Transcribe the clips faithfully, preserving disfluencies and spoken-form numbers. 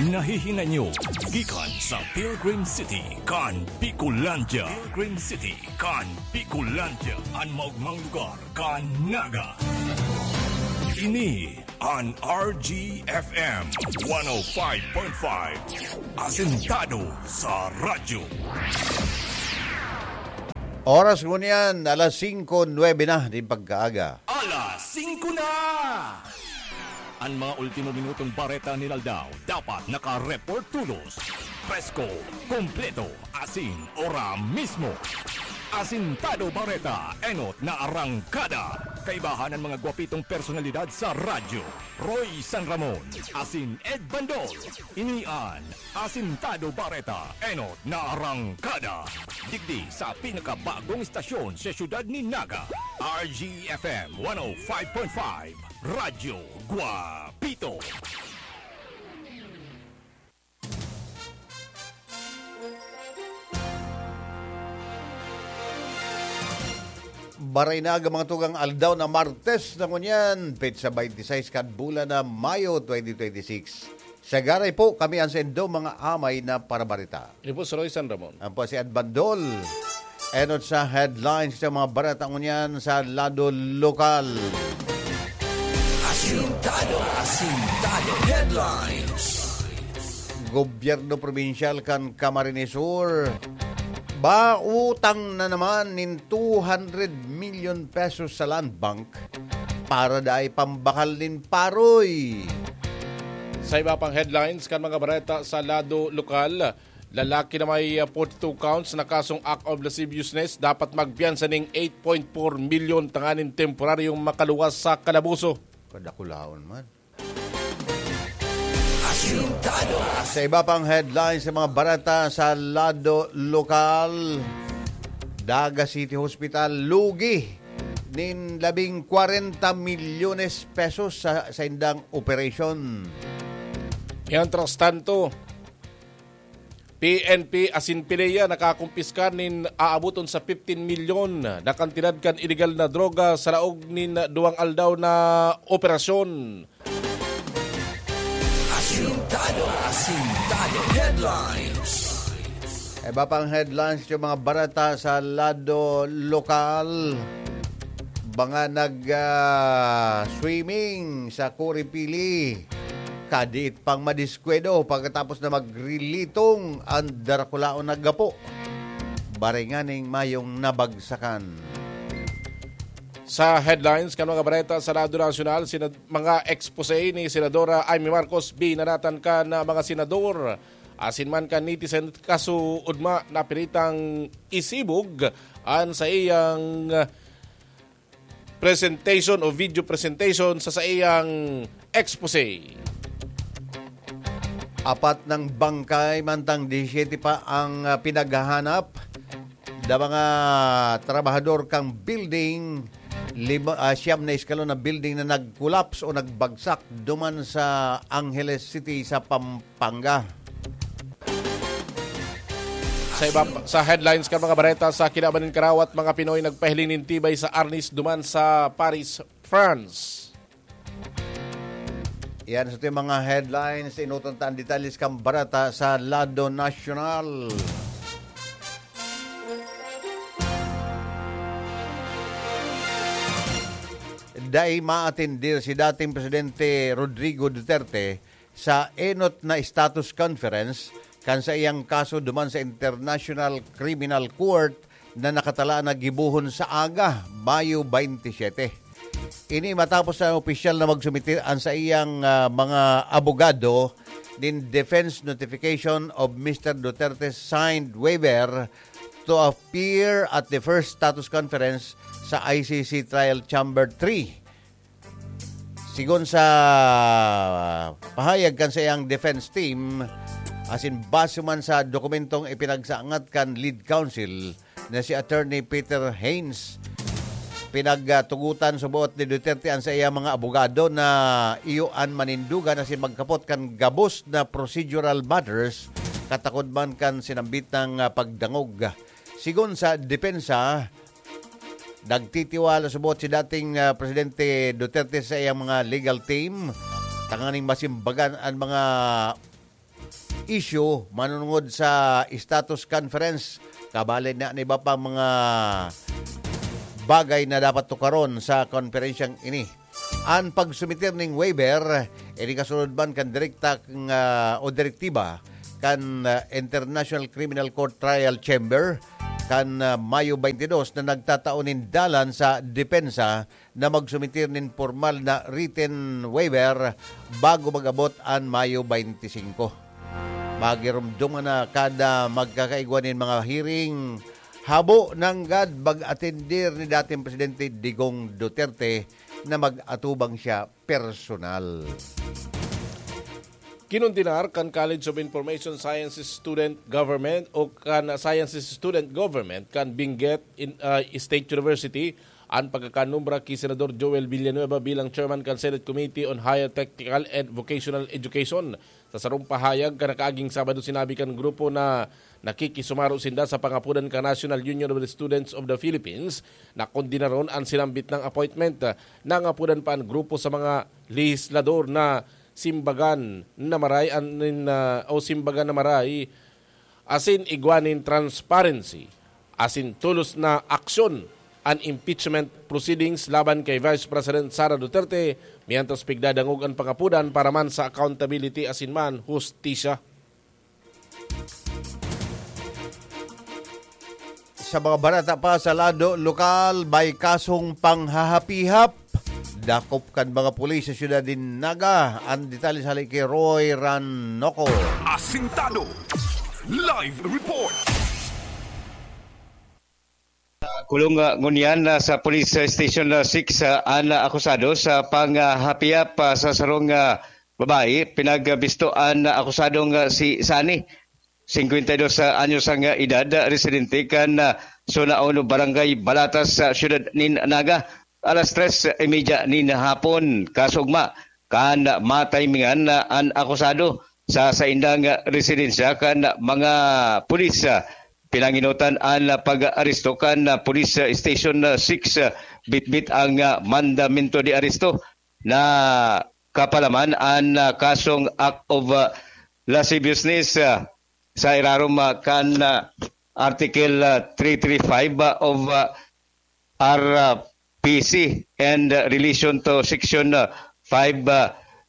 Nahihinay nyo gikan sa Pilgrim City kan Bicolandia. Pilgrim City kan Bicolandia, an maogmang lugar kan Naga. Ini an R G F M one oh five point five, asentado sa radyo. Oras ngunyan, alas singko nuebe na nin pagkaaga. Alas singko na! An mga ultimo minutong bareta nin aldaw dapat naka-report tolos, presko, kompleto, asin ora mismo. Asintado Bareta, enot na arangkada. Kaibahan an mga gwapitong personalidad sa radyo, Roy San Ramon asin Ed Bandol. Ini an Asintado Bareta, enot na arangkada. Digdi sa pinakabagong estasyon sa siyudad nin Naga, R G F M one oh five point five, Radyo Guapito. Baray na aga, mga tugang, aldaw na Martes na ngunyan, petsa twenty-six kan bulan na Mayo twenty twenty-six. Sa garay po, kami an saindo mga amay na parabarita. Ini po si Roy San Ramon. Ampo si Ed Bandol. Enot sa headlines sa mga bareta ngunyan sa lado lokal. Asintado, asintado headlines. Gobyerno probinsyal kan Camarines Sur, bautang na naman nin two hundred million pesos sa Land Bank para dai pambakal nin paroy. Sa iba pang headlines kan mga bareta sa lado lokal, lalaki na may, ah, forty-two counts na kasong act of lasciviousness dapat magpiyansa ning eight point four milyon tanganing temporaryong makaluwas sa kalaboso. Kadakulaon man. Asintado. Sa iba pang headlines sa mga bareta sa lado lokal, Daga City Hospital lugi nin labing kwarenta milyones pesos sa saindang operasyon. Mientras tanto, P N P asin PDEA nakakumpiskar nin aaboton sa fifteen milyon na kantidad kan ilegal na droga sa laog nin duwang aldaw na operasyon. Asintado, asintado headlines. Iba pang headlines yung mga bareta sa lado lokal. Mga nag, ah, swimming sa Kuripili. Kadiit pang madiskwedo pagkatapos na magrilitong ang darakulaon na gapo. Baringaning mayong nabagsakan. Sa headlines kan mga bareta sa Radyo Nasyonal, sinad-, mga expose ni Senadora Imee Marcos binanatan kan mga senador asin man kan netizen kaso ugma na piritang isibog an saiyang presentation o video presentation sa saiyang expose. Apat nang bangkay, mantang disisyete pa ang, ah, pinaghahanap. Da mga trabahador kang building, lima, ah, siyam na eskalon na building na nag-collapse o nagbagsak duman sa Angeles City sa Pampanga. Sa iba pa, sa headlines kan mga bareta, sa kinaban nin karawat, mga Pinoy nagpahiling nin tibay sa arnis duman sa Paris, France. Yan sa ating mga headlines. Inuton ta ang detalles kan bareta sa lado nasyonal. Dai maatendir si dating Presidente Rodrigo Duterte sa enot na status conference kan saiyang kaso duman sa International Criminal Court na nakatalaan na gibohon sa aga, Mayo twenty-seven. Ini matapos na opisyal na magsumite an saiyang, ah, mga abogado nin defense notification of Mister Duterte's signed waiver to appear at the first status conference sa I C C Trial Chamber three. Sigon sa pahayag kan saiyang defense team, asin base man sa dokumentong ipinagsangat kan lead counsel na si Attorney Peter Haynes, pinagtugotan sa buot ni Duterte an saiyang mga abogado na iyo an manindugan asin magkapot kan gabos na procedural matters, katakod man kan sinambit na, ah, pagdangog. Sigon sa depensa, nagtitiwala subot si dating, ah, Presidente Duterte sa iyang mga legal team tanganing masimbagan an mga issue manunungod sa status conference. Kabali na an iba pang mga bagay na dapat tukaron sa konferensyang ini. An pagsumitir ning waiver, ini kasunod man kan direkta nga, o direktiba kan, ah, International Criminal Court Trial Chamber kan, ah, Mayo twenty-two na nagtatao nin dalan sa depensa na magsumitir nin pormal na written waiver bago mag-abot an Mayo twenty-five. Magirumdom na kada magkakaigwa nin mga hearing, habo nanggad mag-atendir ni dating Presidente Digong Duterte na mag-atubang siya personal. Kinondenar kan College of Information Sciences Student Government o kan Sciences Student Government kan Benguet in, ah, State University an pagkakanumbra ki Senador Joel Villanueva bilang chairman kan Senate Committee on Higher Technical and Vocational Education. Sa sarong pahayag kan nakaaging Sabado, sinabi kan grupo na nakikisumaro sinda sa pangapodan kan National Union of the Students of the Philippines na kondenaron an sinambit nang appointment. Nangapodan pa an grupo sa mga lehislador na simbagan na maray an, nin, ah, o simbagan na maray asin igwa nin transparency asin tolos na aksyon an impeachment proceedings laban kay Vice President Sara Duterte, mientras pigdadangog an pangapodan para man sa accountability asin man hustisya. Sa mga bareta pa sa lado lokal, may kasong panghahapihap. Dakop kan mga pulis sa siyudad nin Naga. An detalye sa hali ki Roy Ranoco. Asintado. Live report. Kulong, ah, ngunyan, ah, sa Police Station, ah, six, ah, an, ah, akusado sa panghapiap, ah, sa sarong, ah, babae. Pinagbisto an, ah, akusadong, ah, si Sunny, singkwenta y dos anyos ang, ah, edad, ah, residente kan, ah, Zona Uno, Barangay Balatas, sa siyudad nin Naga. Alas tres y media nin hapon, kasugma kan matimingan na an akusado sa saindang residensya kan mga pulis. Pinangenotan an pag-aresto kan Police Station six, bitbit ang mandamento de aresto na kapalaman an kasong act of lasciviousness sa irarom kan Article three three five of R P C and relation to Section five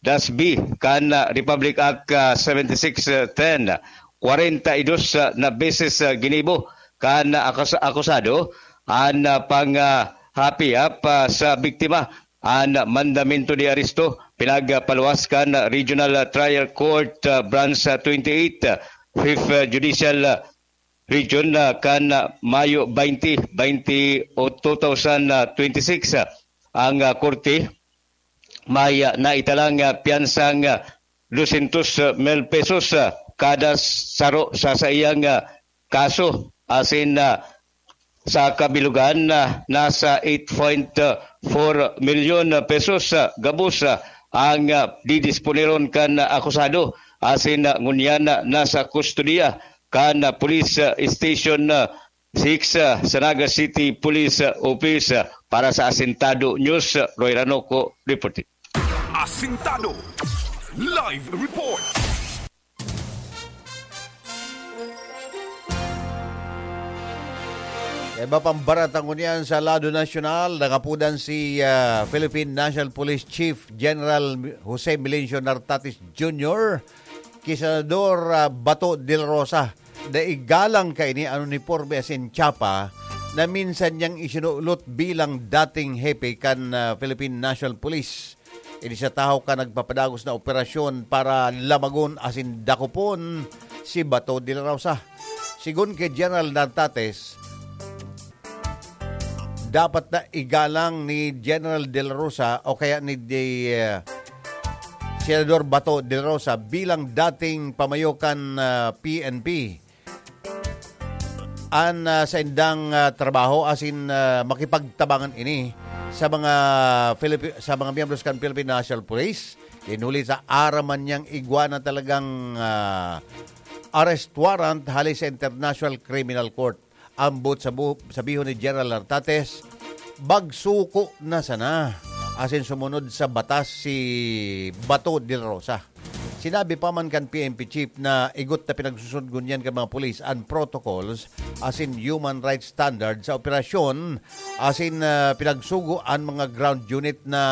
dash B kan Republic Act seventy-six ten. Kwarenta y dos na beses ginibo kan akus-, akusado an panghapiap sa biktima. An mandamento de aresto pinagpaluwas kan Regional Trial Court, ah, Branch twenty-eight, Fifth Judicial Region, ah, kan, ah, Mayo twenty, twenty o two thousand twenty-six. Ang, ah, korte may, ah, naitalang, ah, piyansang, ah, dosyentos mil pesos, ah, kada saro sa saiyang, ah, kaso, asin, ah, sa kabilugan, ah, nasa eight point four milyon pesos, ah, gabos, ah, ang, ah, didisponeron kan, ah, akusado, asin, ah, ngunyan, ah, nasa kustodiya kan, ah, Police, ah, Station, ah, six, ah, sa Naga City Police, ah, Office. Ah, para sa Asintado News, ah, Roy Ranoco reporting. Asintado. Live report. Iba pang bareta ngunyan sa lado nasyonal, nangapodan si, ah, Philippine National Police Chief General Jose Melencio Nartates Junior ki Senador, ah, Bato de la Rosa. Dai galang kaini an uniporme asin tsapa na minsan niyang isinulot bilang dating hepe kan, ah, Philippine National Police. Ini sa tahaw kan nagpapadagos na operasyon para lamagon asin dakopon si Bato de la Rosa. Sigon ki General Nartates, dapat na igalang ni General de la Rosa o kaya ni de, eh, Senador Bato de la Rosa bilang dating pamayo kan, ah, P N P. An, ah, saindang, ah, trabaho asin, ah, makipagtabangan ini sa mga Filipi-, sa mga miyembros kan Philippine National Police, huli sa aram man niyang igwa na talagang, ah, arrest warrant hale sa International Criminal Court. Ambot sa bu-, sabihon ni General Nartates, magsuko na sana asin sumunod sa batas si Bato de la Rosa. Sinabi pa man kan P N P chief na igot na pinagsusundgon niyan kan mga pulis an protocols asin human rights standard sa operasyon asin, ah, pinagsugo an mga ground unit na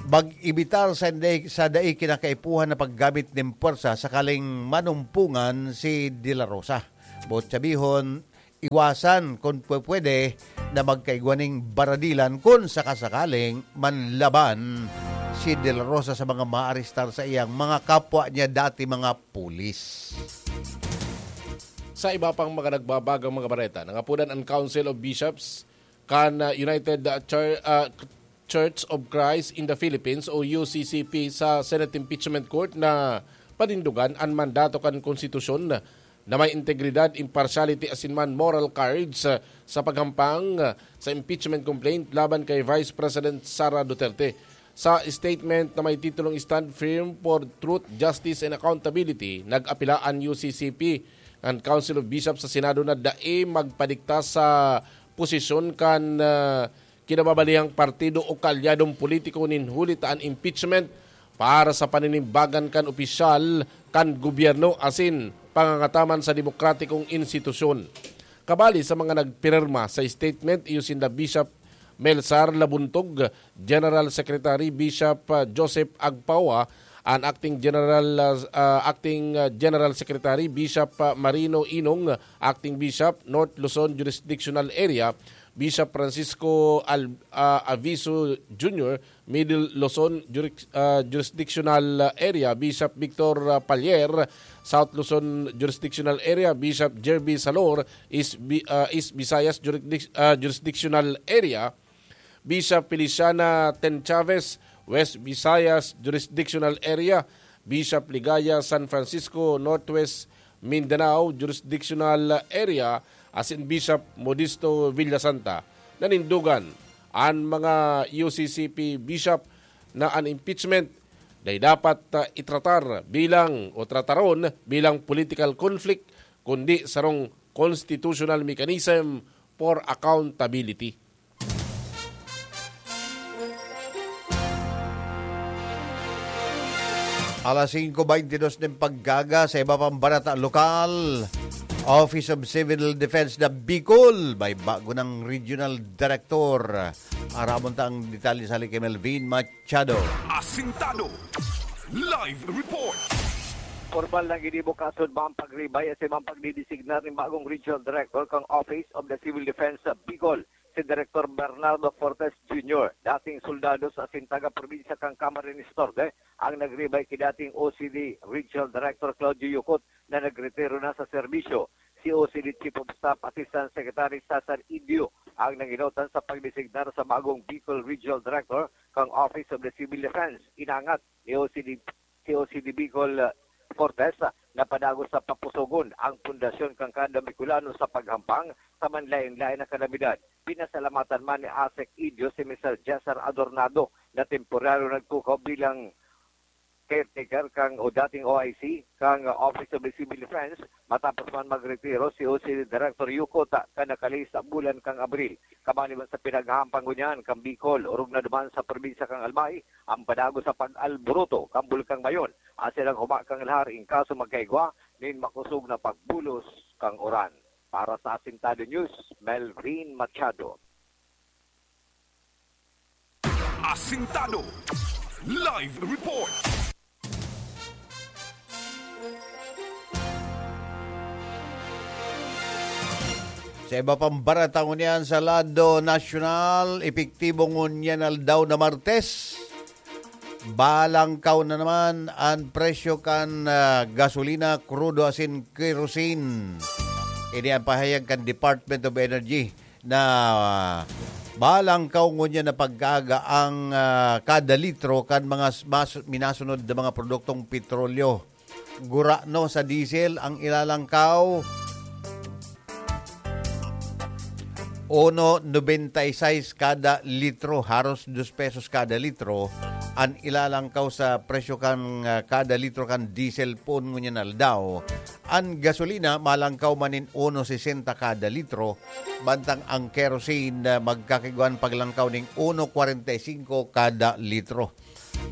mag-ebitar sa dai, sa dai kinakaipuhan na paggamit nin puwersa sakaling manumpungan si De La Rosa. Boot sabihon, iwasan kun pwe-, pwede na magkaigwa ning baradilan kun sakasakaling manlaban si De La Rosa sa mga maarestar sa iyang mga kapwa niya dati mga pulis. Sa iba pang mga nagbabagang mga bareta, nangapodan an Council of Bishops kan, ah, United, ah, Chur-, ah, Church of Christ in the Philippines o U C C P sa Senate Impeachment Court na panindugan an mandato kan konstitusyon na may integridad, impartiality asin man moral courage sa, sa paghampang, ah, sa impeachment complaint laban kay Vice President Sara Duterte. Sa statement na may titulong Stand Firm for Truth, Justice and Accountability, nag-apila an U C C P kan Council of Bishops sa Senado na dai magpadikta sa posisyon kan, ah, kinababalihang partido o kaalyadong politiko nin huli ta an impeachment para sa paninimbagan kan opisyal kan gobyerno asin pangangataman sa demokratikong institusyon. Kabali sa mga nagpirma sa statement, iyo sinda Bishop Melzar Labuntog, General Secretary, Bishop, ah, Joseph Agpaoa, an Acting General, ah, ah, Acting, ah, General Secretary, Bishop, ah, Marino Inong, Acting Bishop, North Luzon Jurisdictional Area, Bishop Francisco Al-, ah, Aviso Junior, Middle Luzon Juris-, ah, Jurisdictional Area, Bishop Victor, ah, Palier, South Luzon Jurisdictional Area, Bishop Jerby Salor, East Bi-, ah, East Visayas Jurisdic-, ah, Jurisdictional Area, Bishop Feliciana Ten Chavez, West Visayas Jurisdictional Area, Bishop Ligaya San Francisco, Northwest Mindanao Jurisdictional Area, asin Bishop Modesto Villasanta. Nanindugan an mga U C C P bishop na an impeachment dai dapat, ah, itratar bilang o trataron bilang political conflict, kundi sarong constitutional mechanism for accountability. Alas singko beintidos nin pagkaga. Sa iba pang bareta lokal, Office of Civil Defense na Bicol, may bago ng regional director. Aramon ta ang detalye sa hali kay Melvin Machado. Asintado. Live report. Formal na ginibo kasunod man pagribay asin man pagdidesignar nin bagong regional director kan Office of the Civil Defense sa Bicol, si Director Bernardo Fortes Junior, dating soldado sa asin taga-probinsya kan Camarines Norte, ang nagribay ki dating O C D Regional Director Claudio Yucot na nagretiro na sa serbisyo. Si O C D Chief of Staff Assistant Secretary Cesar Idio ang nanginotan sa pagdesignar sa bagong Bicol Regional Director kan Office of the Civil Defense. Inangat ni O C D, si O C D Bicol, ah, Fortes, ah, na padagos sa papusogon ang pundasyon kan kada Bicolano sa paghampang sa manlaen-laen na kalamidad. Pinasalamatan man ni Asek Idio si Mister Cesar Adornado na temporaryo nagtukaw bilang caretaker kan o dating O I C kan Office of the Civil Defense, matapos man magretiro si O C D Director Yucot kan nakalihis na bulan kan Abril. Kabali man sa pinaghahampang ngunyan kan Bicol, orog na duman sa probinsya kan Albay, ang padagos sa pag-alboroto kan Bulkang Mayon, asin ang huma kan lahar in kaso magkaigwa nin makosog na pagbulos kan uran. Para sa Asintado News, Melvin Machado. Asintado. Live report. Sa iba pang bareta ngunyan sa lado nasyonal, epektibo ngunyan aldaw na Martes. Balangkaw na naman an presyo kan, ah, gasolina, krudo asin kerosene. Ini ang pahayag kan Department of Energy na, ah, balangkaw ngunyan na pagkaaga ang, ah, kada litro kan mga s-, mas-, minasunod na mga produktong petrolyo. Gurano sa diesel ang ilalangkaw, uno noventa y seis kada litro, haros dos pesos kada litro an ilalangkaw sa presyo kan, ah, kada litro kan diesel poon ngunyan aldaw. An gasolina malangkaw man nin uno sesenta kada litro, bantang ang kerosene, ah, magkakigwan paglangkaw ning uno kwarenta y singko kada litro.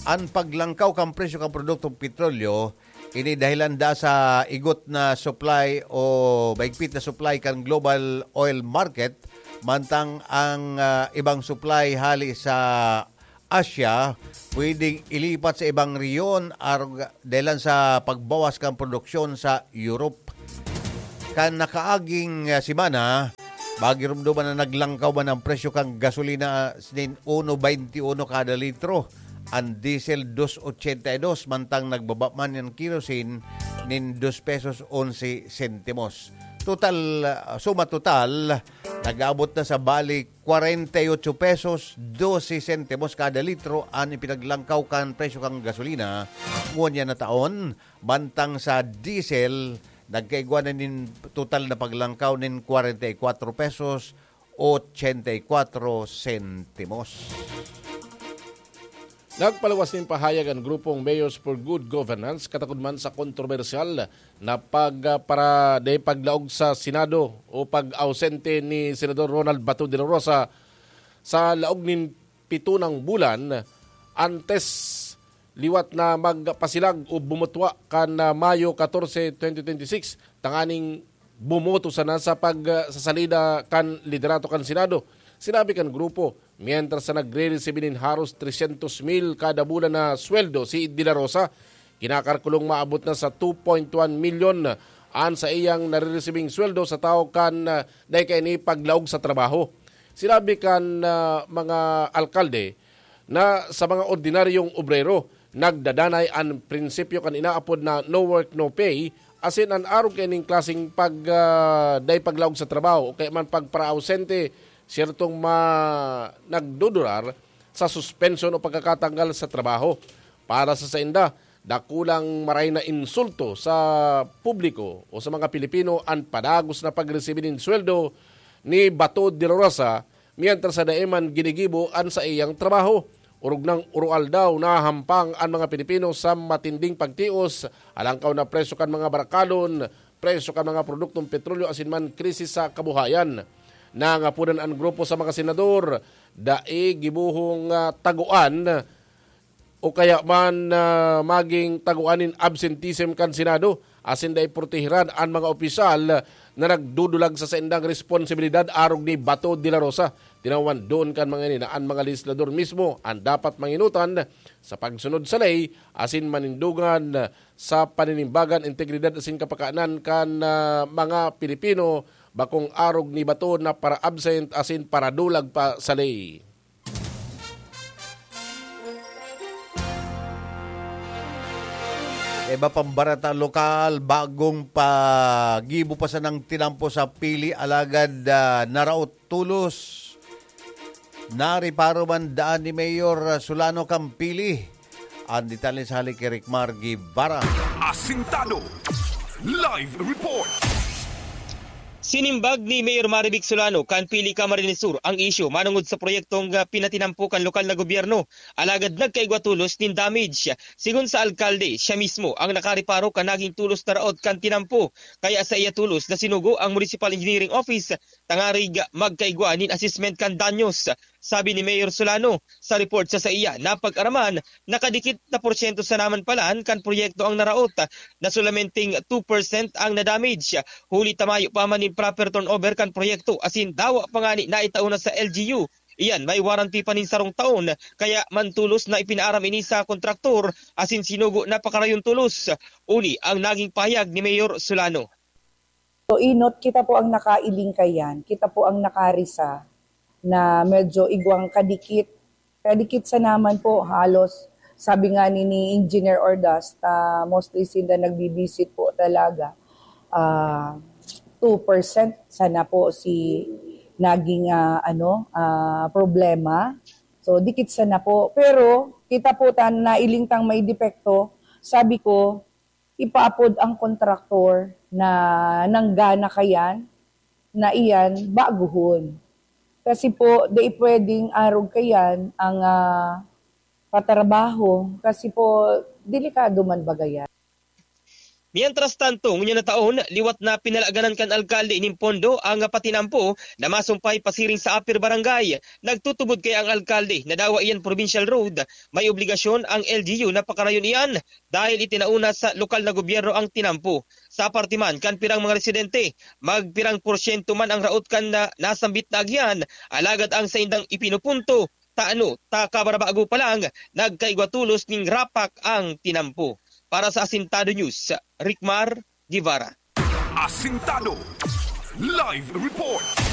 An paglangkaw kan presyo kan produktong petrolyo, ini dahilan da sa igot na supply o mahigpit na supply kan global oil market, mantang ang, ah, ibang supply hali sa Asia pwedeng ilipat sa ibang rehiyon arog dahilan sa pagbawas kan produksyon sa Europe. Kan nakaaging, ah, semana, magirumduman na naglangkaw man ang presyo kan gasolina, ah, nin uno veintiuno kada litro, ang diesel dos ochenta y dos, mantang nagbaba man ang kerosene nin dos pesos onse sentimos. Total, ah, suma total, nag-abot na sa balik kwarenta y ocho pesos doce sentimos kada litro an ipinaglangkaw kan presyo kan gasolina ngunyan na taon, mantang sa diesel, nagkaigwa na nin total na paglangkaw nin kwarenta y kwatro pesos ochenta y kwatro sentimos. Nagpaluwas nin pahayag an grupong Mayors for Good Governance katakod man sa kontrobersyal na pag, ah, para dai paglaog sa Senado o pag-ausente ni Senador Ronald Bato de la Rosa sa laog nin pito nang bulan antes liwat na magpasilag o bumutwa kan, ah, Mayo katorse, twenty twenty-six, tanganing bumoto sana sa pag, ah, sa salida kan liderato kan Senado. Sinabi kan grupo, mientras na nagre-resibi nin haros tresyentos mil kada bulan na sweldo si De La Rosa, kinakalkulong maabot na sa two point one milyon an saiyang nareresibing sweldo sa tawo kan, ah, dai kaini paglaog sa trabaho. Sinabi kan, ah, mga alkalde na sa mga ordinaryong obrero, nagdadanay an prinsipyo kan inaapod na no work, no pay, asin an arog kaining klaseng pag, ah, dai paglaog sa trabaho o kaya man pagpara-ausente, siyertong ma-, nagdudurar sa suspensyon o pagkakatanggal sa trabaho. Para sa sainda, dakulang maray na insulto sa publiko o sa mga Pilipino an padagos na pagresibi nin sweldo ni Bato de la Rosa, mientras sa dai man ginigibo an saiyang trabaho. Orog nang oroaldaw, nahahampang an mga Pilipino sa matinding pagtios, alangkaw na presyo kan mga barakadon, presyo kan mga produktong petrolyo asin man krisis sa kabuhayan. Nangapodan an grupo sa mga senador, dai gibohong, ah, tagoan o kaya man, ah, maging tagoan nin absenteeism kan Senado, asin dai proteheran an mga opisyal na nagdudulag sa saindang responsibilidad arog ni Bato de la Rosa. Tinawan doon kan mga ini na an mga legislador mismo an dapat manginutan sa pagsunod sa ley asin manindogan sa paninimbagan, integridad asin kapakanan kan, ah, mga Pilipino, bakong arog ni Bato na para-absent asin paradulag pa sa ley. Iba pang bareta lokal, bagong pagibo pa sanang tinampo sa pili, alagad, ah, naraot tolos. Nariparo man daan ni Mayor Solano kan pili. Ang detalye sa hali ki Ricmar Guevara. Asintado. Live report. Sinimbag ni Mayor Marivic Solano kan pili Camarines Sur ang isyu manongod sa proyektong, ah, pinatinampo kan lokal na gobyerno, alagad nagkaigwa tolos nin damage. Sigon sa alkalde, siya mismo ang nakareparo kan naging tolos na raot kan tinampo, kaya saiya tolos na sinugo ang Municipal Engineering Office tangarig magkaigwa nin assessment kan danyos. Sabi ni Mayor Solano, sa report sa saiya napag-araman, nakadikit na porsyento sana man palan kan proyekto ang naraot, na solamenteng two percent ang na-damage. Huli ta mayo pa man nin proper turnover kan proyekto asin dawa pa ngani naitao na sa L G U. Iyan may warranty pa nin sarong taon, kaya mantolos na ipinaaram ini sa kontraktor asin sinugo na pakarayon tolos. Uli ang naging pahayag ni Mayor Solano. So, inot, kita po ang nakailing kayan, kita po ang nakarisa na medyo igwang kadikit. Kadikit sa naman po, halos, sabi nga ni, ni Engineer Ordaz, ta mostly sinda nagbibisit po talaga. Ah, two percent sana po si naging, ah, ano, ah, problema. So, dikit sana po. Pero, kita po ta, nailing tang may depekto. Sabi ko, ipaapod ang kontraktor na nanggana kayan, na iyan baguhon. Kasi po, di pwedeng arog kayan ang, ah, patrabaho. Kasi po, delikado man baga yan. Mientras tanto, ngunyan na taon, liwat na pinalaganan kan alkalde nin pondo ang patinampo na masumpay pasiring sa Upper Barangay. Nagtutubod kaya ang alkalde na dawa iyan provincial road, may obligasyon ang L G U na pakarayon iyan dahil itinauna sa lokal na gobyerno ang tinampo. Sa parte man kan pirang mga residente, magpirang porsyento man ang raot kan na nasambit na agihan, alagad ang saindang ipinupunto, tano ta kabarabago pa lang, nagkaigwa tolos nin rapak ang tinampo. Para sa Asintado News, Ricmar Guevara. Asintado Live Report.